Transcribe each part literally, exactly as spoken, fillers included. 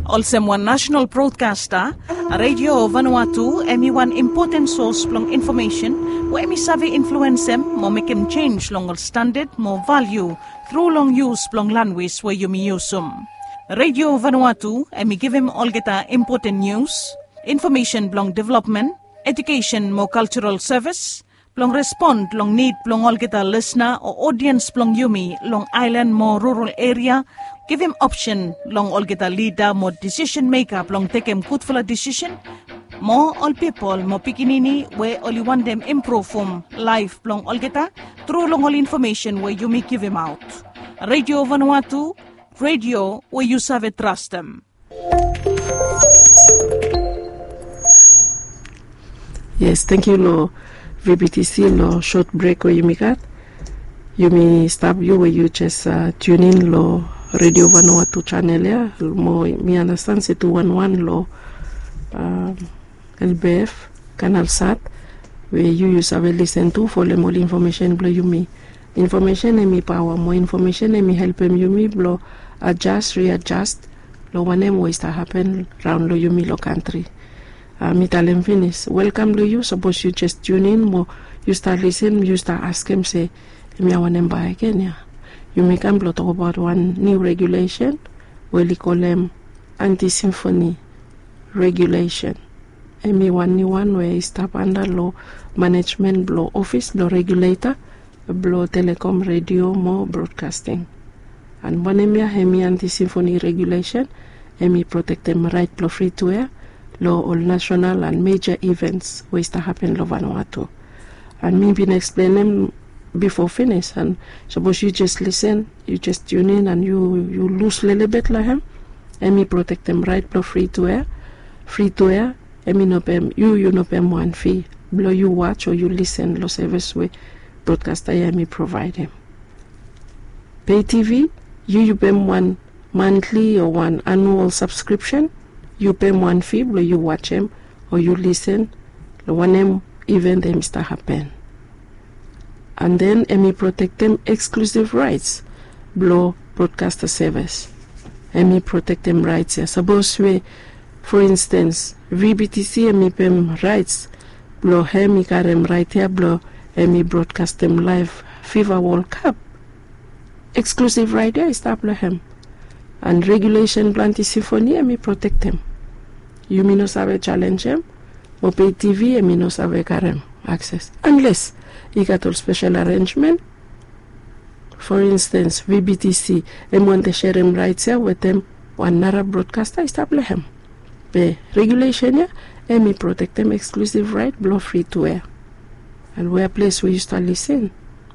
Olsem wan nasenal brodkasta, Redio Vanuatu hem i wan impoten sos blong infomesen we hem i save influensem mo mekem jenj long ol standad mo valiu tru long yus blong lanwis we yumi yusum. Redio Vanuatu hem i givim olgeta impoten nius, infomesen blong developmen, ejukesen mo kaljaral sevis, blong respon long nid blong olgeta lisna o odiens blong yumi long aelan mo rural eria, givim opsen long olgeta lida mo disisen meka blong tekem gudfala disisen, mo ol pipol mo pikinini we oli wantem impruvum laef blong olgeta tru long ol infomesen we yumi givimaot. Redio Vanuatu, redio we yu save trastem. Yes, tangkiu long V B T C long sot brek we yumi gat. Yumi stap, yu we yu jes tiunin long Redio Vanuatu chanel ya, mo mi anastan se tu wanwan long L B F, Kanal Sat, we yu yu save lisen tu folem ol infomesen blong yumi. Infomesen hem i paoa mo infomesen hem i helpem yumi blong ajas, riajas long wanem we i stap hapen raon long yumi long kantri. Mi talem finis, welkam long yu sapos yu jes tiunin mo yu stap lisen, yu stap askem se, hemia wanem bae gen ya? Yumi kam blong tokbaot wan niu regulesen we oli kolem anti-symphony regulesen. Hem i wan niu wan we i stap anda long manejmen blong ofis blong reguleta blong telekom, redio mo brodkasting. An wanem ya hem i anti-symphony regulesen? Hem i protektem raet blong free to air long ol nasenal an meja ivens we i stap hapen long Vanuatu. An mi bin eksplenem bifo finis, an sapos yu jes lisen, yu jes tiunin an yu lus lelebet long hem, hem i protektem raet blong free to air. Free to air hem i no pem, yu yu no pem wan fi blong yu waj o yu lisen long sevis we brodkasta ya hem i provaedem. Pei T V, yu yu pem wan mantli o wan anual sabskripsen, yu pem wan fi blong yu wajem o yu lisen long wanem iven hem i stap hapen. An den hem i protektem eksklusiv raets blong brodkasta sevis. Hem i protektem raets ya sapos we, fo instens, V B T C hem i pem raets blong hem i karem raet ya blong hem i brodkastem laef Fifa Wol Kap. Eksklusiv raet ya i stap long hem. An regulesen blong anti-symphony hem i protektem. Yumi no save jalenjem, o Pei T V hem i no save karem akses anles i gat ol spesel arenjmen. Fo instens, V B T C hem wantem serem raets ya wetem wan nara brodkasta i stap long hem. Be regulesen ya hem i protektem eksklusiv raet blong free to air. An wea ples we yu stap lisen,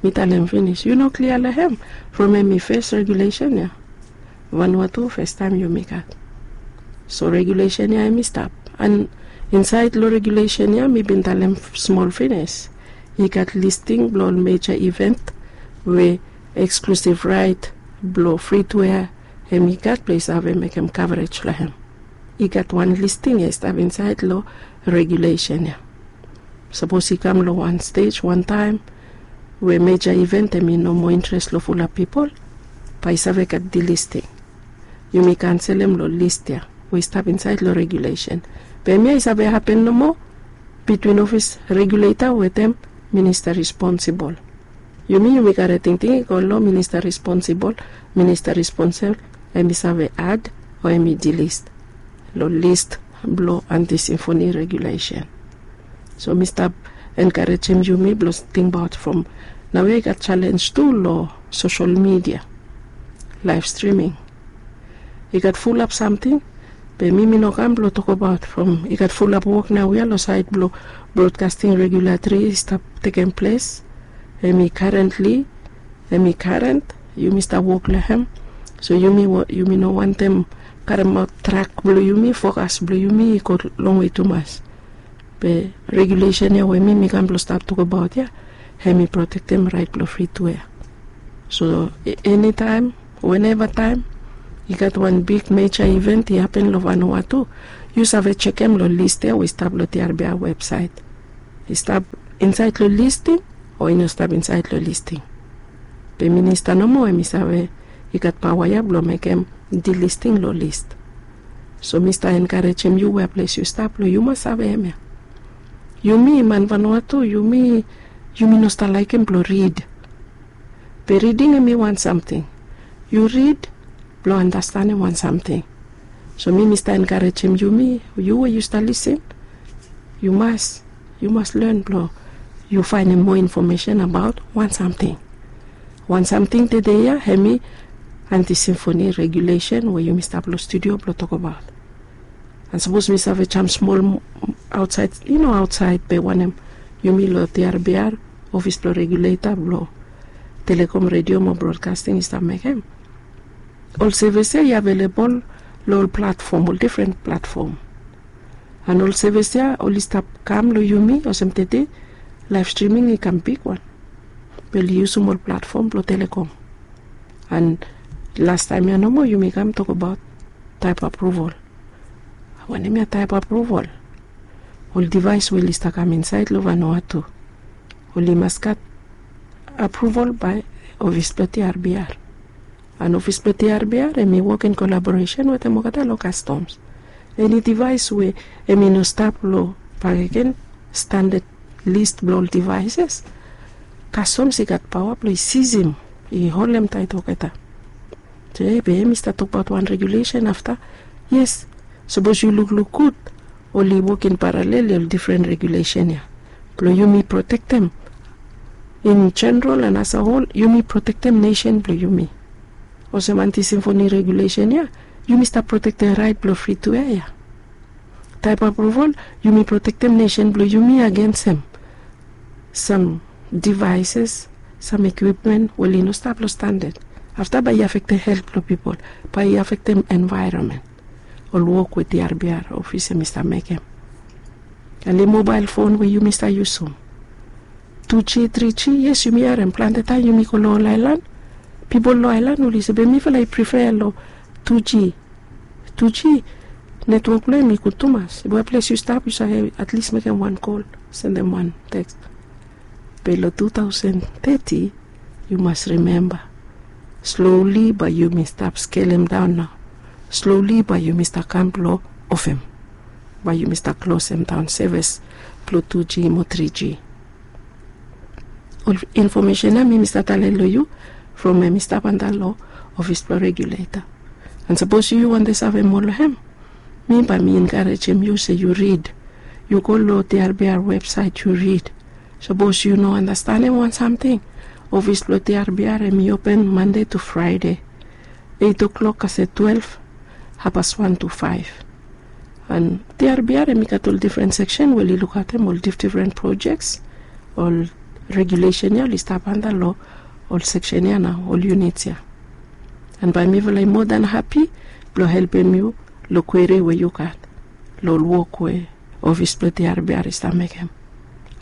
mi talem finis, yu no klia long hem from hem i fes regulesen ya. Vanuatu, fastaem yumi gat. So regulesen ya hem i stap. An insaed long regulesen ya mi bin talem smol finis, i gat listing blong ol meja iven we eksklusiv raet blong free to air hem i gat blong i save mekem kavrej long hem. I gat wan listing ya i stap insaed long regulesen ya. Sapos i kam long wan stej wantaem we meja iven hem i no moa intres long fulap pipol, bae i save gat dilisting. Yumi kanselem long lis ya we i stap insaed long regulesen. Be hemia i save hapen nomo bitwin ofis reguleta wetem minista responsibol. Yumi yumi karem tingting i go long minista responsibol. Minista responsibol hem i save ad o hem i dilis long lis blong anti-symphony regulesen. So mi stap enkarejem yumi blong tingbaot from naoia i gat jalenj tu long sosel midia, laef striming. I gat fulap samting, be mi mi no kam blong tokbaot from i gat fulap wok naoia long saed blong brodkasting regulatori i stap tekem ples. Hem i karentli, hem i karent, yumi stap wok long hem. So yumi no wantem karemaot trak blong yumi, fokas blong yumi i go longwe tumas. Be regulesen ya we mi mi kam blong stap tokbaot ya, hem i protektem raet blong free to air. So enitaem, weneva taem i gat wan big meja iven i hapen long Vanuatu, yu save jekem long lis ya we i stap long T R B R websaet. I stap insaed long listing o i no stap insaed long listing. Be minista nomo hem i save, i gat paoa ya blong mekem dilisting long lis. So mi stap enkarejem yu wea ples yu stap long yu mas save em ya. Yumi man vanua tu yumi yumi no stap laikim blong rid. Be riding em i wan samting. Yu rid blong anastanem wan samting. So mi mi stap enkarejem yumi yu we yu stap lisin, yu mas yu mas len blong yu faenem moa infomesen abaot wan samting. Wan samting tede ya em i anti simfoni regulesen we yumi stap long studio blong tokabaot. An sapos mi save jam smol aotsaed i no aotsaed be wanem, yumi long tiarbiar ofis blong reguleta blong telekom redio mo brodkasting i stap mekem. Ol sevis ya i avelebol long ol platfom ol difren platfom. An ol sevis ya oli stap kam long yumi olsem tede laef striming i kam bigwan. Be oli yusum ol platfom blong telekom. An lastaem ya nomo yumi kam tokabaot taep apruval. Wanem ya taep apruval? Ol divaes we oli stap kam insaed long vanua tu oli mas gat apruval bae ofis blong tiarbiar. An ofis blong tiarbiar em i wok in kolaboresen wetem olgeta long kastoms. Eni divaes we em i no stap long bakegen standad lis blong ol divaeses, kastoms i gat paoa blong i sisim, i holem taet olgeta. Be em i stap tokbaot wan regulesen afta. Yes, sapos yu lukluk gud oli wok in paralel long difren regulesen ya blong yumi protektem in jeneral an asahol yumi protektem nesen blong yumi. Olsem anti simfoni regulesen ya yumi stap protektem raet blong fri tu ya ya. Taep apruval yumi protektem nesen blong yumi agensem sam divaeses, sam ekwipmen we oli no stap long standad. Afta bae i afektem helt blong pipol, bae i afektem envaeronmen. Ol wok we tiarbiar ofis em i stap mekem. Oli mobael fon we yumi stap yusum, tu g tri g. Yes, yumi harem plante taem yumi go long ol aelan. Pipol long aelan oli se be mifala i prife long tu g. Tu g netwok blong em i gud tumas. Wea ples yu stap yu save atlis mekem wan kol, sendem wan teks. Be long tu taosen teti yu mas rimemba, sloli bae yumi stap skelemdaon nao. Sloli bae yumi stap kam blong ofem, bae yumi stap klosemdaon sevis blong tu g mo tri g. Ol infomesen ya mi mi stap talem long yu from em i stap antap long ofis blong reguleta. An sapos yu yu wantem save moa long em, mi bae mi enkarejem yu se yu rid. Yu go long tiarbiar websaet yu rid. Sapos yu no anastanem wan samting, ofis blong tiarbiar em i open mande tu fraede, eit oklok kasem twelef, hafpas wan tu faef. An tiarbiar em i gat ol difren seksen we oli lukaotem ol difdifren projeks. Ol regulesen ya oli stap antap long ol seksen ya nao, ol yunits ya. An bae mifala i moa dan hapi blong helpem yu long kweri we yu gat long ol wok we ofis blong tiarbiar i stap mekem.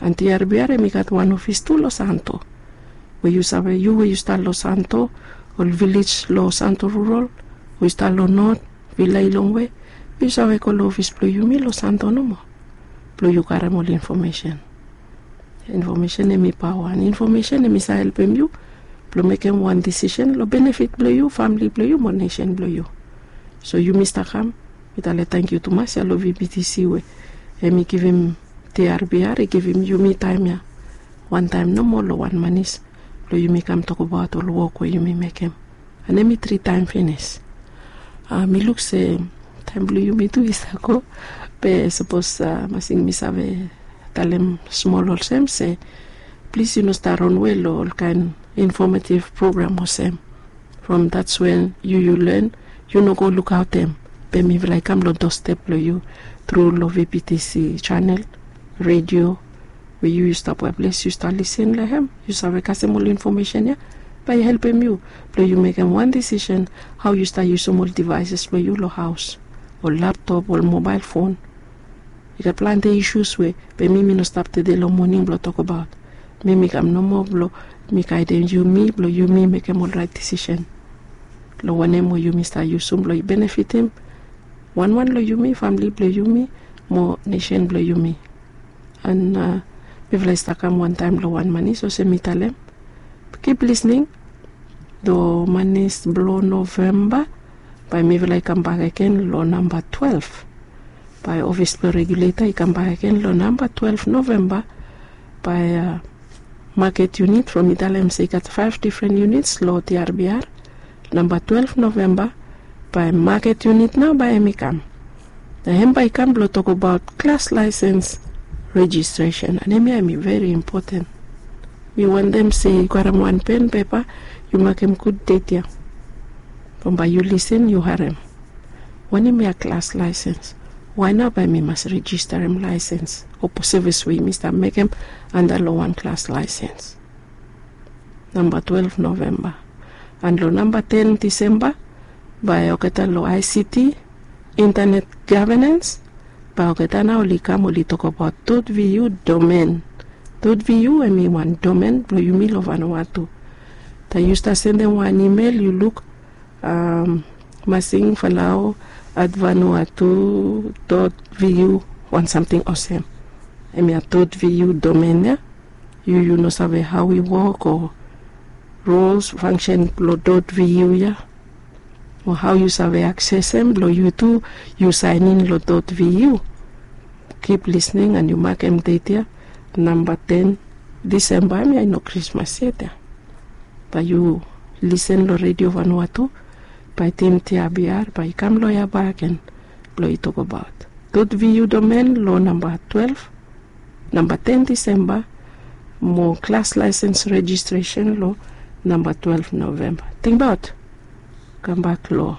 An tiarbiar em i gat wan ofis tu long santo. We yu save yu we yu stap long santo, ol vilej long santo rural, we yu stap long not, vila i longwe, yu save go long ofis blong yumi long santo nomo blong yu karem ol infomesen. Infomesen em i paoa an infomesen em i save helpem yu blong mekem wan disisen long benefit blong yu, famili blong yu mo nesen blong yu. So yumi stap kam, mi talem tangkiu tumas ya long vptc we em i givim tiarbiar i givim yumi taem ya wantaem nomo long wan manis blong yumi kam tokbaot ol wok we yumi mekem. An em i tritaem finis. Mi luk se taem blong yumi tu i stap go. Be sapos masing mi save talem smol olsem se plis yu no stap ronwe long olkaen infometiv program olsem. From dats wen yu yu len, yu no go lukaotem. Be mifala i kam long dostep blong yu tru long vptc janel, redio, we yu yu stap wea ples yu stap lisin long hem, yu save kasem ol infomesen ya bae i helpem yu blong yu mekem wan disisen hao yu stap yusum ol divaeses blong yu long haos, ol laptop, ol mobael fon. I gat plante isus we be mi mi no stap tede long moning blong tokbaot. Mi mi kam nomo blong mi gaedem yumi blong yumi mekem ol raet disisen long wanem we yumi stap yusum blong i benefitim wanwan long yumi, famili blong yumi, mo nesen blong yumi. An mifala i stap kam wantaem long wan manis olsem mi talem. Kip lisning long manis blong novemba. Bae mifala i kambak agen long namba twelef. Bae ofis blong reguleta i kambak agen long namba twelef novemba. Bae maket yunit from i talem se i gat faef difren yunits long tiarbiar. Namba twelef novemba bae maket yunit nao bae hem i kam. Na hem bae i kam blong tokbaot klas laesens rejistresen. An hemia hem i veri impoten. Mi wantem se yu karem wan pen pepa, yu makem gud det ya. From bae yu lisen yu harem. Wanem ya klas laesens? Wae nao bae mi mas rejistarem laesens o sevis we yumi stap mekem anda long wan klas laesens? Namba twelef novemba. An long namba ten disemba bae olgeta long I C T, intanet gavenens, bae olgeta nao oli kam oli tokbaot dot V U domen. Dot V U hem i wan domen blong yumi long Vanuatu. Taem yu stap sendem wan imel yu luk masing falao at vanuatu dot V U, wan samting olsem. Hemia dot V U domen ya. Yu yu no save hao i wok o rules fangsen blong dot V U ya, o hao yu save aksesem blong yu tu yu saenin long dot V U. Kip lisning an yu makem det ya, namba ten disemba, hemia i no krismas yet ya. Bae yu lisen long Redio Vanuatu bae tim tiabiar bae i kam long ya baken blong i tokbaot dot V U domen long namba twelef, namba ten disemba, mo klas laesens rejistresen long namba twelef novemba. Tingbaot kambak long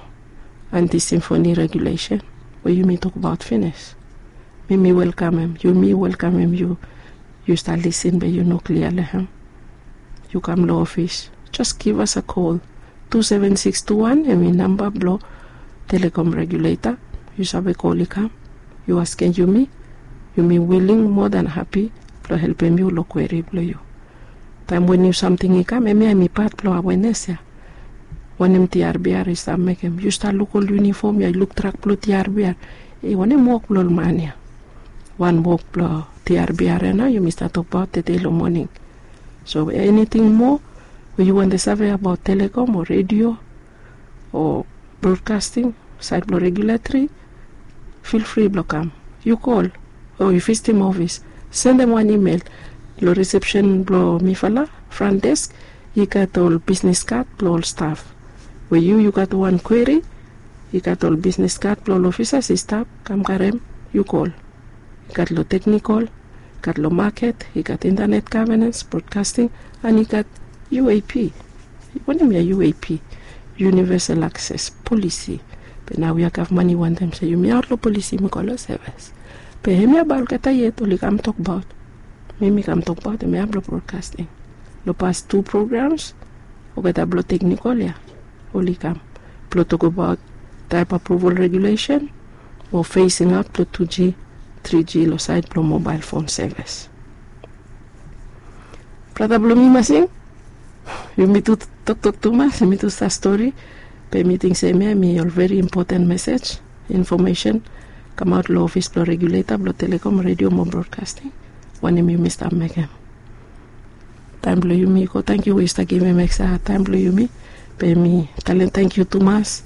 anti simfoni regulesen we yumi tokbaot finis. Mi mi welkamem yu, mi welkamem yu. Yu stap lisen be yu no klia long hem, yu kam long ofis, jes givas a kol. Tu seven six tu wan hem i namba blong Telekom reguleta. Yu save kol i kam, yu askem yumi. Yumi wiling moa dan hapi blong helpem yu long kweri blong yu. Taem we niu samting i kam, hemia hem i pat blong awenes ya. Wanem tiarbiar i stap mekem? Yu stap luk ol yunifom ya, i luk trak blong tiarbiar. E wanem wok blong ol man ya? Wan wok blong tiarbiar ya nao yumi stap tokbaot tede long moning. So eniting moa we yu wantem save abaot Telekom o redio o brodkasting, saed blong regulatri, fil fri blong kam. Yu kol o yu visitim ofis, sendem wan imel long risepsen blong mifala, fran desk. I gat ol bisnes kad blong ol staf. We yu yu gat wan kweri, i gat ol bisnes kad blong ol ofisas i stap kam karem. Yu kol. I gat long teknikol, i gat long maket, i gat intanet gavenens, brodkasting, an i gat U A P. Wanem ya U A P? Univesal akses polisi. Be naoia gavman i wantem se yumi aot long polisi yumi go long sevis. Be hemia bae olgeta yet oli kam tokbaot. Mi mi kam tokbaot hemia blong brodkasting. Long pas tu programs olgeta blong teknikol ya oli kam blong tokbaot taep apruval regulesen o fesing aot blong tu G, tri G long saed blong mobael fon sevis. Brata blong mi masing, yumi tu toktok tumas, yumi tu stap stori. Be mi ting se hemia hem i ol veri impoten mesej, infomesen kamaot long ofis blong reguleta blong Telekom Redio mo Brodkasting. Wanem yumi stap mekem? Taem blong yumi i go. Tangkiu we yu stap givim ekstra taem blong yumi. Be mi talem tangkiu tumas.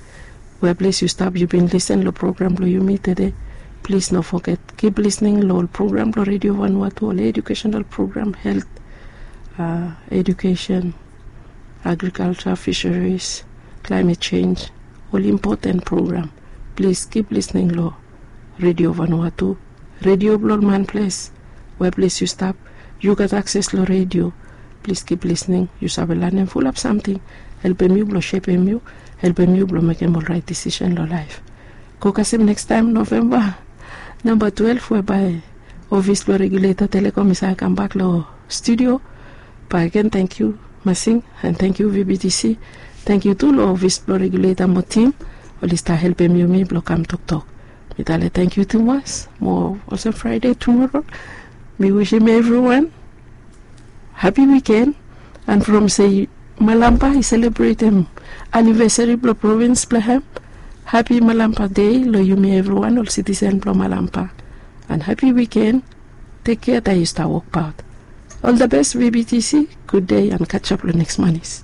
Wea ples yu stap yu bin lisen long program blong yumi tede, plis no foget kip lisning long ol program blong Redio Vanuatu, ol ejukesenal program, helt, a, ejukesen, agrikalsa, fiseris, klaemet senj, ol impoten program. Plis kip lisning long Redio Vanuatu, redio blong ol manples. Wea ples yu stap, yu gat akses long redio. Plis kip lisning, yu save lanem fulap samting. Helpem yu blong sepem yu, helpem yu blong mekem ol raet disisen long laef. Go kasem nekstaem Novemba namba twelef we bae ofis blong reguleta Telekom i save kambak long studio. Bae agen tangkiu masing, an tangkiu V B T C. Tangkiu tu long ofis blong reguleta mo tim, oli stap helpem yumi blong kam toktok. Mi talem tangkiu tumas, mo olsem Fraede tumoro. Mi wisim evriwan hapi wiken. An from se Malampa i selebretem anivesari blong provins blong hem, hapi Malampa Dei long yumi evriwan ol sitisen blong Malampa. An hapi wiken. Tek kea taem yu stap wokbaot. Ol da bes, V B T C, gud dei an kasap long neks manis.